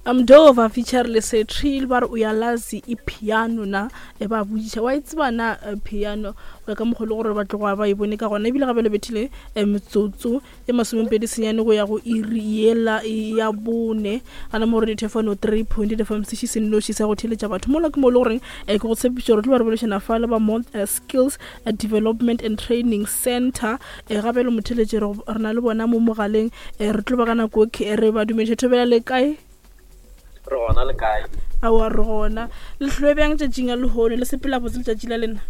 Mdova feature le Setrill ba re o ya lazi e piano na e ba botšiša wa e tseba na eh, piano go ya ka mokgwa le gore ba tloga ba e bone ka gona ebile gape le bethile eh, metsotso e masomepedi senyane go ya go iri yela ya bone gana mo gore dithefano 3 point fm seši se nnoši sa go theletša batho mola ke mo e le goreng eh, ke go tshepiša gore tlo ba re bolešana fa le ba mo skills development and training center gape le motheletše re na le bona mo mogaleng re tlo ba ka nako re ba dumediša thobela le kae Re gona le kae? Aowa re gona. Le hlwe bjang tšatšing la lehono? Le sepela botse letšatši la lena?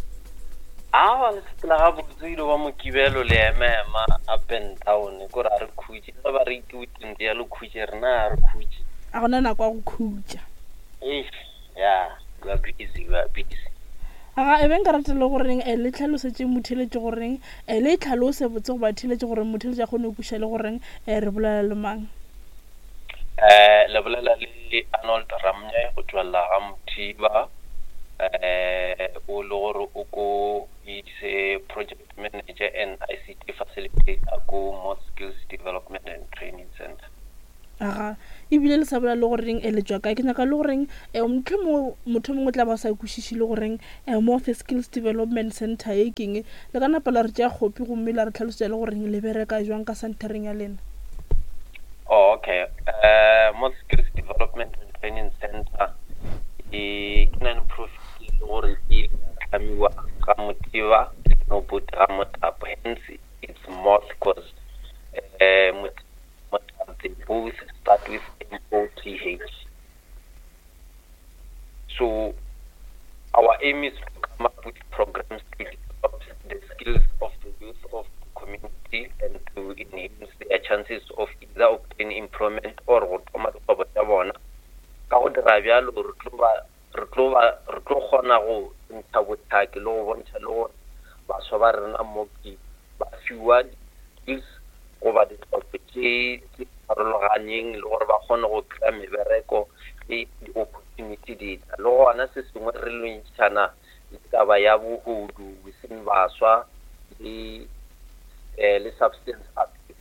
Aowa le sepela gabotse ile ba Mokibelo le ema-ema up and down kore a re khutše. Ge ba re ke weekend ya le khutše rena a re khutše. A gona nako ya go khutša. Eish yeah we are busy we are busy. Aga e be nka rata le goreng eh, le tlhalosetše motheeletši goreng eh, le e tlhalose botse go batheeletši gore motheeletši a kgone go kweša le goreng eh, re bolela le mang. Eh, le bolela le Arnold Ramnye go tšwela ga Mothiba, eh, o le gore o ko is a project manager and ICT facilitator ko Moth Skills Development and Training Center. Aga, ebile le sa bolela le goreng eh, le tšwa kae. Ke nyaka le goreng eh, mohlomongwe motho mongwe o tla ba sa kwešiše le goreng eh, Moth Skills Development Center ye keng. Le ka napa la re tšea kgopi gomme la re tlhalosetša le goreng le bereka jwang ka centereng ya lena. Oh, okay. Mo Skills Development and Training Center e ke non-profit e le gore e ile ya hlamiwa ga Mothiba le Noboti ga Mothapo. Hence it's Moth because Mothapo they both start with M O T H. So our aim is to come up with programs to develop the skills of the youth of the community and to enhance their chances of either obtaining employment or go thoma dikgwebo tša bona. Ka go dira bjalo re tlo ba re tlo ba re tlo kgona go ntšha bohlaki le go bontšha le gore baswa ba rena mo ke ba fiwa di-skills goba ditlhopho tše tše farologaneng le gore ba kgone go kry-a mebereko ge di-opportunity di tla. Le gona se sengwe re lwantšhana le taba ya bohodu within baswa le um le substance abuse.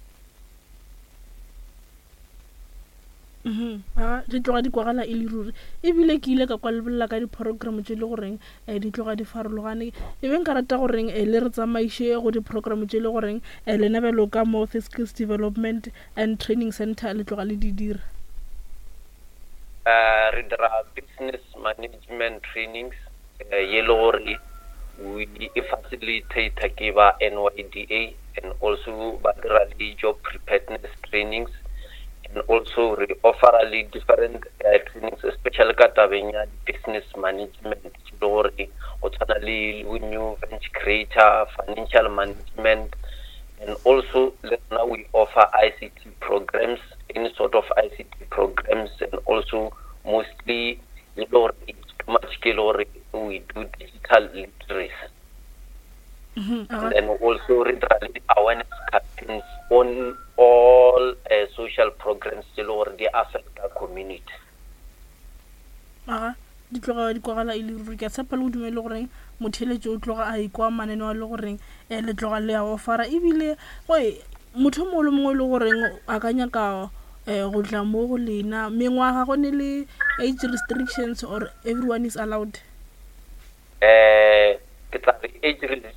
Mhm. A di tloga di kwagala e le ruri. Ebile ke ile ka kwa le bolela ka di-program tše le goreng um di tloga di farologane. E be nka rata goreng um le re tsamaiše go di-program tše le goreng um lena bjalo ka mo the Skills Development and Training Center le tloga le di dira. Um re dira business management trainings um ye le gore e facilitator ke ba N_Y_D_A. and also ba dira le job preparedness trainings and also re offera le different uh, trainings especially ka tabeng ya business management le gore go tshwana le new venture creator financial management and also le rena we offer ICT programs any sort of ICT programs and also mostly le gore it's too much ke le gore we do digital literacy Mm-hmm. And then also re dira le awareness campaigns on all social programs tse le gore di affecta community. Aga di tloga di kwagala e le ruri ke a tshepa le go dumele goreng motheletši o tloga a ikwa mananeo a le goreng um le tloga le a ofara ebile goe motho o mongwe le mongwe e le goreng a ka nyaka um go tla mo go lena mengwaga go ne le age restrictions or everyone is allowed. Eh, ke tla re age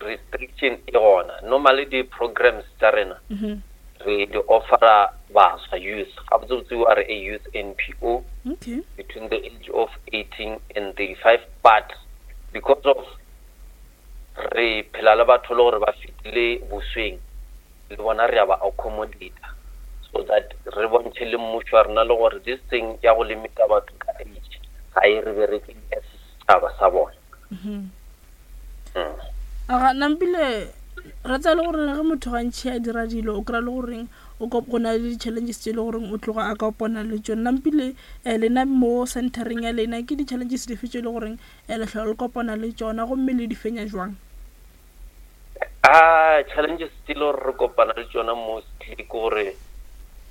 restriction e gona. Normally di-programs tša rena mm-hmm. re di offera baswa youth. Gabotsebotse we are a youth NPO okay. between the age of 18 and 35 but because of re phela le batho le gore ba fetile bosweng le bona re a ba accommodata so that re bontšhe le mmušo wa rena le gore this thing ya go limita batho ka age ga e re bereke as setšhaba sa bona. Mm-hmm. Mm. Aga nampile re tsaya le gore ge motho gantšhi a dira dilo o kry-a le goreng o go na le di-challenges tse e le goreng o tloga a ka opona le tsone nampile um lena mo centereng ya lena ke di-challenges dife tse e le goreng um le tlhola le kopana le tsona gomme le di fenya jwang? Ah, challenges tse le gore re kopana le tsona mostly ke gore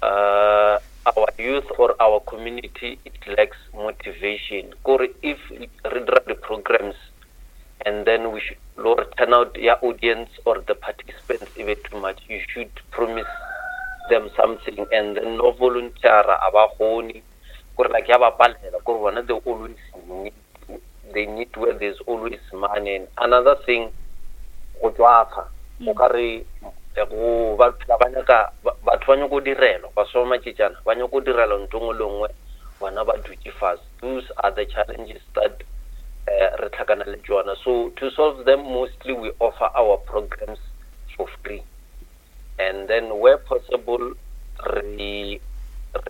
uh, our youth or our community it lacks motivation kore if re dira di-programs and then we should lore turn out ya audience or the participants e be too much you should promise them something and then no volunteer a ba kgone. Kore like ya ba palela, kore bona they always need, they need where there's always money. And another thing, go tswafa, o ka re go ba phela ba nyaka, batho ba nyako direlwa, baswa ba matšetšana ba nyako direlwa ntho nngwe le nngwe, bona ba dutše fase. Those are the challenges that re tlhakana le tšona. So to solve them, mostly we offer our programs for free, and then where possible re re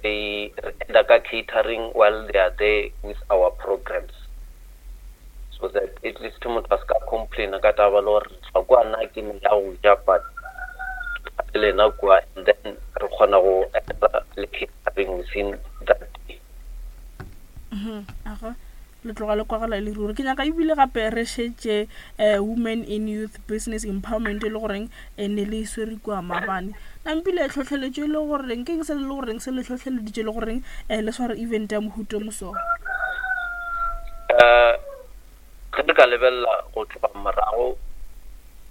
re enda ka catering while they are there with our programs, so that at least motho a se ka complaina ka taba le gore tla kwa nna ke ne ya go ja, but le lena kwa, and then re kgona go enda le catering within that day. Aga, le tloga le kwagala le ruri. Ke nyaka ebile gape re šetše Women in Youth Business Empowerment e le goreng ne le swere kua maabane. Nampile tlhotlheletšo e le goreng ke eng se le goreng se le tlhotlheleditše le goreng le sware event ya mohuta o moso? Ge re ka lebelela go tloga morago,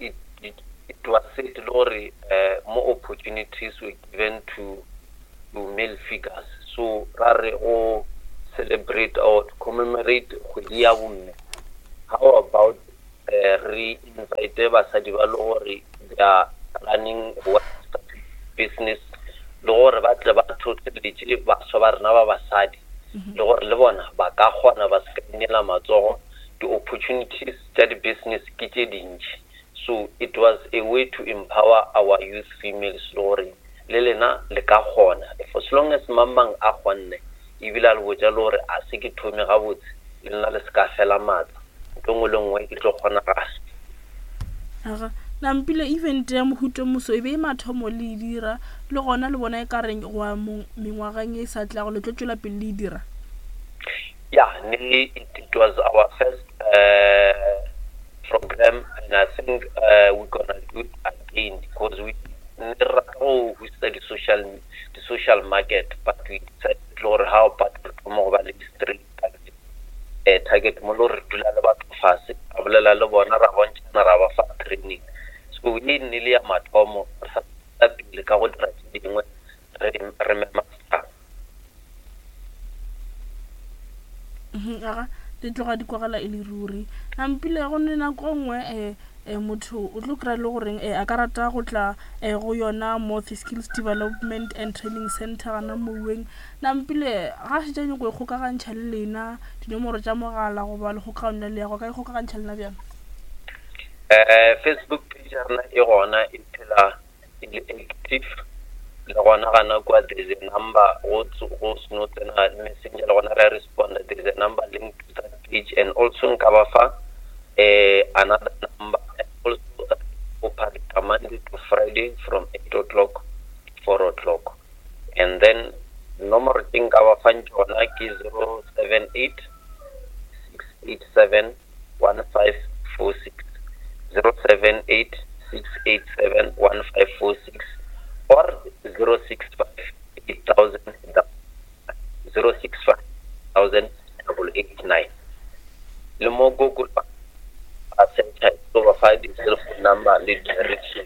it was said le gore more opportunities were given to male figures. So ra re go celebrate or to commemorate kgwedi ya bomme, how about re invite basadi ba le gore they are running business, le gore ba tle ba tlhotlheletše baswa ba rena ba basadi, le gore le bona ba ka kgona ba se ka inela matsogo. Di-opportunities tša di-business ke tše dintši. So it was a way to empower our youth females, le gore le lena le ka kgona. For as long as mang mang a kgonne, ebile a le botša le gore a se ke thome gabotse, le nna le se ka fela maatla, ntho nngwe le nngwe e tlo kgonagala. Aga, nampile event ya mohuta moso e be e mathomo le e dira, le gona le bona e ka reng go ya mengwageng e sa tlago le tlo tšwela pele le e dira? Yeah, ne, it was our first program, and I think we're gonna do it again, because we ne re rata go hosta di social market, but we decided gore how about re thoma go ba le di-street target, target mo le gore re dula le batho fase, ra bolela le bona, ra bontšhana, ra ba fa training. So ye nne le ya mathomo, re sa pele ka go dira tše dingwe, re mema setšhaba. Aga, di tloga di kwagala e le ruri. Nampile go ne nako nngwe motho o tlo kry-a le goreng a ka rata go tla go yona Mothy Skills Development and Training Center gana moweng. Nampile ga šetše a nyako ikgokagantšha le lena, dinomoro tša mogala goba le kgokagano ya leago, ka ikgokagantšha lena bjang? Facebook page ya rena e gona, e phela e le active, le gona gana kwa there's a number go seno tsena Messenger, le gona re a responda. There's a number linked to that page, and also nka ba fa another number. And also operate Monday to Friday from 8 o'clock to 4 o'clock, and then nomoro tse nka ba fang tšona ke 078 687 1546, 078 687 1546, or 065 8000, 065 1000 889. Le mo Google a searcha, tlo ba fa di-cell phone number le direction.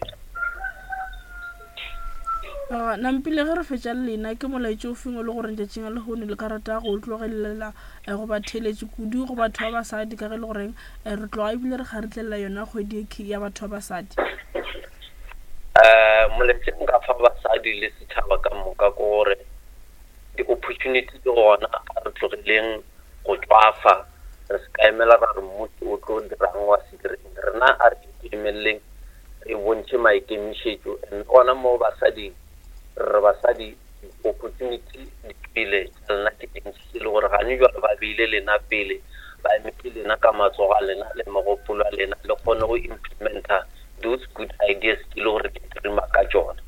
Nampile ge re fetša le lena, ke molaetša o feng o le goreng tšatšing la lehono le ka rata go tlogelela go ba theeletše, kudu go batho ba basadi, ka ge e le goreng re tloga ebile re kgaritlelela yona kgwedi e ya batho ba basadi? Molaetša nka fa basadi le setšhaba ka moka ke gore di-opportunity di gona, a re tlogeleng go tswafa, re se ka emela ra re mmuso o tlo dirang wa se direng. Rena a re ikemeleleng, re bontšhe maikemišetšo. And gona mo basading, re basadi, opportunity di pele tša lena ke dintši, e le gore gane jwale ba beile lena pele, ba emetse lena ka matsogo a lena le megopolo a lena, le kgone go implementa those good ideas ke le gore ke dreama ka tšona.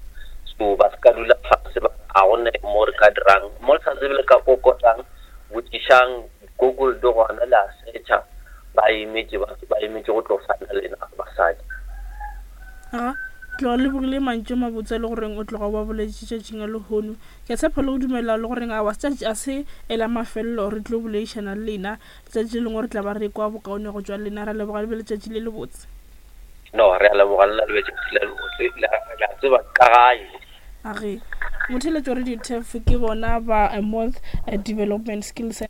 So ba se ka dula fase ba a gone mo re ka dirang mo le sa tsebe, le ka kokotang, botšišang Google, di gona, le a searcha, ba emetše, ba emetše go tlo fana lena basadi. Aga, tloga le bogile mantšu a mabotse le goreng o tloga wa boletše tšatšing la lehono. Ke a tshepa le go dumela le goreng awa setšatši a se ela mafelelo, re tlo boledišana le lena letšatši le lengwe, re tla ba re kwa bokaone go tšwa lena. Ra leboga, le be letšatši le lebotse. No, re a leboga le na, le be letšatši le lebotse. Le a tseba ka gae. Age motheletšo re di-tef ke bona ba Moth Development Skills.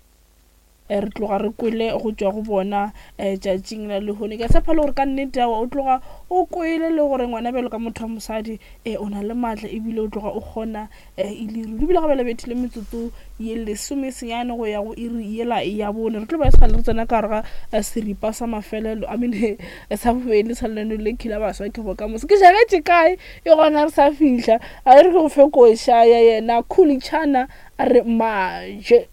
Re tloga re kwele go tšwa go bona tšatšing la lehono. Ke a tshepa le gore ka nnete aowa o tloga o kwele le gore ngwana bjalo ka motho wa mosadi o na le maatla ebile o tloga o kgona e le ruri. Ebile ga bjale bethile metsotso ye lesomesenyane go ya go iri yela ya bone. Re tlo ba e sa le re tsena ka gare ga seripa sa mafelelo, I mean sa bobedi sa lenaneo le khila baswa ke bokamoso. Ke jagetše kae e gona re sa fihla. A re ke go fe koša ya yena Khuli Chana a re maje.